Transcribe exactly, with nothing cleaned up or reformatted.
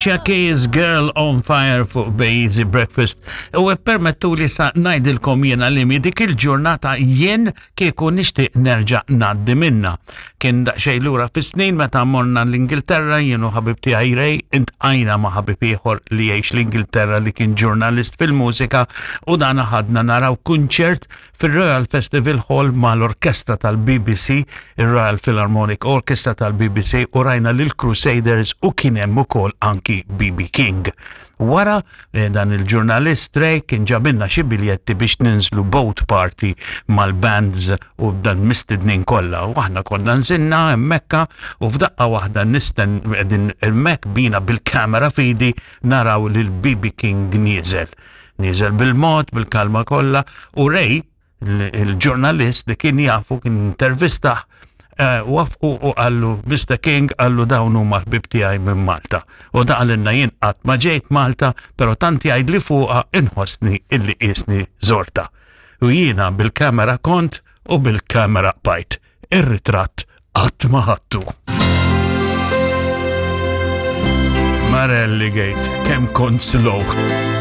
Alicia Keys Girl on Fire fuq Easy Breakfast. U permettu li sa ngħidilkom jiena li mi dik il-ġurnata jien kieku nixtieq nerġa' ngħaddi minna. Kien daqsxejn lura fis-snin meta morna l-Ingilterra jien u ħabib tiegħi Ray iltqajna ma' ħabib ieħor li jgħix l-Ingilterra li kien ġurnalist fil-mużika u dan ħadna naraw kunċert fil-Royal Festival Hall mal-orkestra tal-BBC, il-Royal Philharmonic Orchestra tal-BBC u rajna lil Crusaders u kien hemm ukoll anki BB King. Wara eh, dan il-ġurnalist Ray kien ġabilna xi biljetti biex ninżlu boat party mal-bands u dan mistednin kollha. U aħna konna nżilna hemmhekk u f'daqqa waħda nisten qegħdin hemmhekk bina bil-kamera f'idi naraw lil BB King nieżel. Nieżel bil-mod, bil-kalma kollha u Ray il-ġurnalist li kien jafu kien intervistah eh, waqfu u qallu Mr. King qallu dawn huma ħbib tiegħi minn Malta. U da qalilna jien qatt ma ġejt Malta, però tant jgħid li fuqha inħossni illi qisni żortha. U jiena bil-kamera kont u bil-kamera bqajt. Ir-ritratt qatt ma ħadtu. Marelli Gate, kemm kont slow.